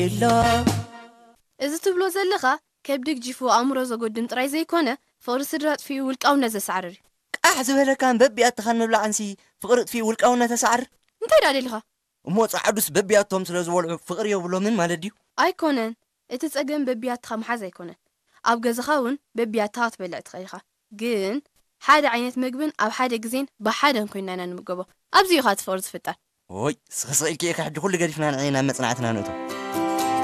የሎ። እዚ ትብሎ ዘለኻ ከብዲ ግጂፉ ኣእምሮ ዘጎድም ጥራይ ዘይኮነ፣ ፍቕሪ ስድራ ኣጥፊኡ ውልቃውነት ዘሳዕርር እዩ። ቃሕ ዝበለካን በቢኣትኻን ምብላዕንሲ ፍቕሪ ጥፊኡ ውልቃውነት ተሳዕር? እንታይ ደኣ ደሊኻ? እሞ ጸዓዱስ በቢኣቶም ስለ ዝበልዑ ፍቕሪ የብሎምን ማለት ድዩ? ኣይኮነን። እቲ ጸገም በቢያትኻ ምሓዝ ኣይኮነን። ኣብ ገዛኻ እውን በቢያትኻ ክትበልዕ ትኽእል ኢኻ። ግን ሓደ ዓይነት መግብን ኣብ ሓደ ግዜን ብሓደን ኮይንና ኢና ንምገቦ። ኣብዚ እዩ ኸኣ እቲ ፍቕሪ ዝፍጠር። ኦይ፣ ስኽስኽ ኢልኪ ኢኻ፣ ሕጂ ኩሉ ገዲፍና ንዒ ናብ መጽናዕትና ንእቶ።